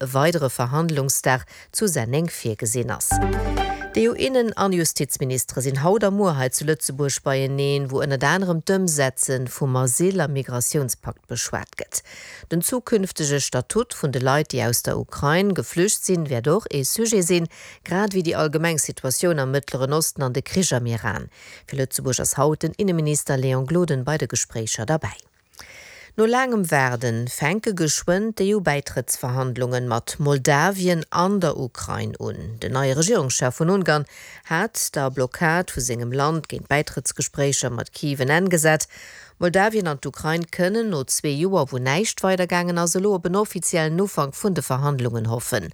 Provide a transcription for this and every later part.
E weidere Verhandlungsdag zu Senneng virgesinn ass. D'EU-Innen an Justizministere sinn haut a muer hei zu Lëtzebuerg beieneen, wou ënnert anerem d'Ëmsetze vum Asyl a Migratiounspakt beschwat gëtt. Den zukünftege Statut vun de Leit, déi aus der Ukrain geflücht sinn, wäert och ee Sujet sinn, grad ewéi déi allgemeng Situatioun am Mëttleren Osten an de Krich am Iran. Fir Lëtzebuerg ass haut den Inneminister Léon Gloden bei de Gespréicher derbäi. No laangem Waarden fänke geschwënn d'EU-Bäitrëttsverhandlungen mat Moldawien an der Ukrain un. Den neie Regierungschef vun Ungarn hat der Blockad vu sengem Land géint Bäitrëttsgespréicher mat Kiew en Enn gesat. Moldawien an d'Ukrain kënnen no zwee Joer, wou näischt weidergaangen ass, elo op en offiziellen Ufank vun de Verhandlungen hoffen.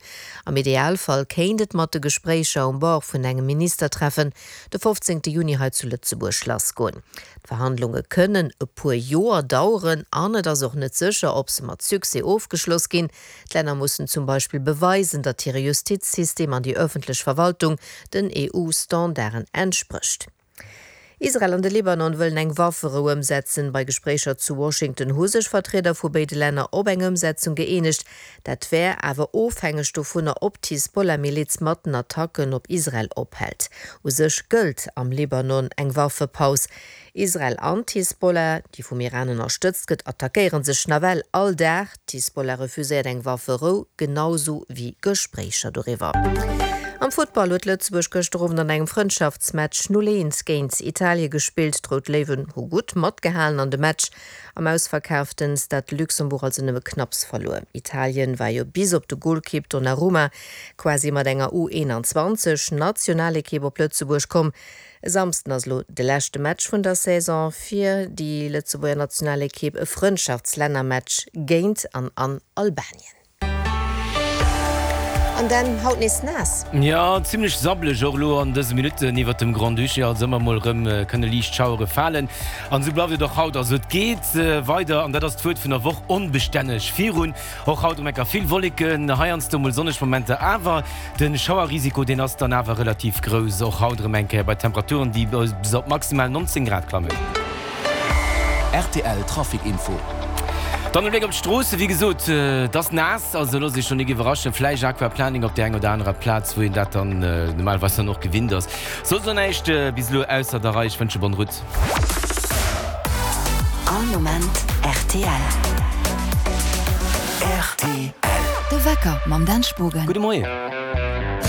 Am Idealfall kéint et mat de Gespréicher um Bord vun engem Ministertreffen de 15 Juni hei zu Lëtzebuerg lassgoen. D'Verhandlunge kënnen e puer Joer daueren an et ass och net sécher, ob se mat Succès ofgeschloss ginn. D'Länner mussen zum Beispill beweisen, datt hire Justizsystem an déi ëffentlech Verwaltung den EU-Standarden entsprécht. Israel an de Libanon wëllen eng Wafferou ëmsetzen. Bei Gespréicher zu Washington hu sech Vertrieder vu béide Länner op eng Ëmsetzung gëeenegt. Dat wär awer ofhängeg dovunner, ob d'Hisbollah-Miliz mat den Attacken op Israel ophält. U sech gëllt am Libanon eng Waffepaus. Israel an d'Hisbollah, déi vum Iran ënnerstëtzt gëtt, attackéiere sech nawell all Dag. D'Hisbollah refuséiert eng Wafferou, genau sou wéi Gespréicher doriwwer. Am Futtball huet Lëtzebuerg gëschter Owend an engem Frëndschaftsmatch 0, 1 géint Italie gespillt. D'Rout Léiwen hu gutt matgehalen an de Match Am ausverkaaften Stade de Luxembourg also nëmme knapps verluer. Italien war jo bis op de Golkipp Donnarumma quasi mat enger U 21 Nationalekipp op Lëtzebuerg komm. E Samsden ass elo de leschte Match vun der Saison fir déi Lëtzebuerger Nationalekipp, e Frëndschaftslännermatch géint an an Albanien. An dann haut nees naass. Jo, zimmlech sabbeleg och elo an dëse Minutten iwwert dem Grand-Duché. Also ëmmer mol erëm kënne liicht Schauere falen. An esou bleift et och haut. Also et geet weider, an dat ass d'Wuert vun der Woch, onbestänneg virun. Och haut erëm enker vill Wolleken, heiansdo mol sonneg Momenter, awer de Schauerrisiko, deen ass dann awer relativ grouss. Och haut erëm eng Kéier bei Temperaturen, déi bis op maximal 19 Grad klammen. Rtl Trafic Info. Dann e Bléck op d'Stroossen. Wéi gesot, et ass naass, also loosst Iech do nik iwwerraschen. Vläicht Aquaplaning op där enger oder anerer Plaz, wou een dat dann normalerweis dann och gewinnt ass. Soss elo näischt bis elo ausser der Rei. Ech wënsche bonne route. All Moment rtl. Rtl. De Wecker mam Dan Spogen. Gudde Moien.